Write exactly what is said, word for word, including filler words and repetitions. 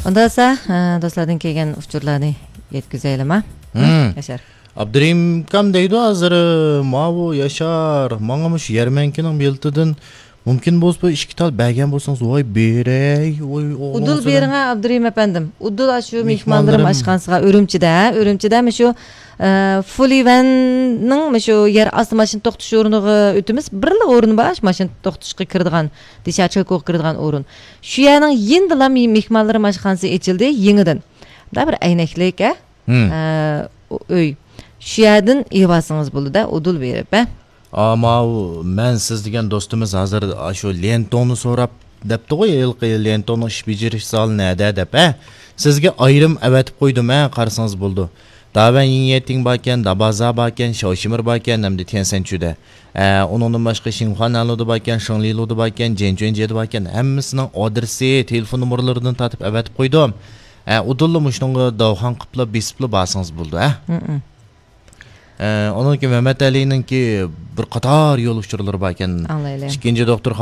ئۇندىسا، ئە، دوستلاردىن كەلگەن ئۇچۇرلارنى يەتكۈزەيلىما؟ ھە، ھىم. ياشار. ئابدۇرېھىم ئاكام دەيدۇ ھازىر، ماۋۇ ياشار، ماڭا مۇشۇ يەرمەنكىنىڭ بېلىتىدىن مۇمكىن بولسا بىر ئىككى تال بەرگەن بولسىڭىز، ۋاي بېرەي، ۋاي ئۇدۇل ئوغلۇڭىزغا. بېرىڭە ئابدۇرېھىم ئەپەندىم. ئۇدۇل ئاشۇ مېھمانلىرىم مېھمانلىرىم. ئاشخانىسىغا ئۈرۈمچىدە، ئۈرۈمچىدە مۇشۇ، ئە، فۇلىۋەننىڭ مۇشۇ يەر ئاستى ماشىنا توختىتىش ئورنىغا ئۆتىمىز. بىرلا ئورۇن بار، شۇ ماشىنا توختىتىشقا كىرىدىغان، دېشاچوكوغا كىرىدىغان ئورۇن. شۇ يەرنىڭ يېنىدىلا مې-، مېھمانلىرىم ئاشخانىسى ئېچىلدى، يېڭىدىن. دا بىر ئەينەكلىك، ئە؟ ھىم. ئە، ئۆي. شۇ يەردىن ئېلىۋالسىڭىز بولىدۇ-دە، ئۇدۇل بېرىپ، ھە؟ ئا، ماۋۇ، مەن سىز دېگەن دوستىمىز ھازىر ئاشۇ ليەنتوڭنى سوراپ دەپتىغۇ، ھېلىقى ليەنتوڭنىڭ ئىش بېجىرىش زالى نەدە دەپ، ھە؟ سىزگە ئايرىم ئەۋەتىپ قويدۇم، ھە، قارىسىڭىز بولىدۇ. داۋەن يىڭيەتىڭ باركەن، دابازا باركەن، شاۋشىمىر باركەن، ھەمدە تيەنسەنچۈدە. ئە، ئۇنىڭدىن باشقا شىنخۇانەنلۇدا باركەن، شېڭلىلۇدا باركەن، جيەنچۈەنجيېدە باركەن، ھەممىسىنىڭ ئادرېسى، تېلېفون نومۇرلىرىدىن تارتىپ ئەۋەتىپ قويدۇم. ئە، ئۇدۇللا مۇشۇنىڭغا داۋخان قىپلا بېسىپلا بارسىڭىز بولىدۇ، ھە؟ ھىم. ئە، ئۇنىڭكى مەمەت ئەلىنىڭكى بىر قاتار يول ئۇچۇرلىرى باركەن. ئاڭلايلى. ئىككىنچى دوختۇرخانا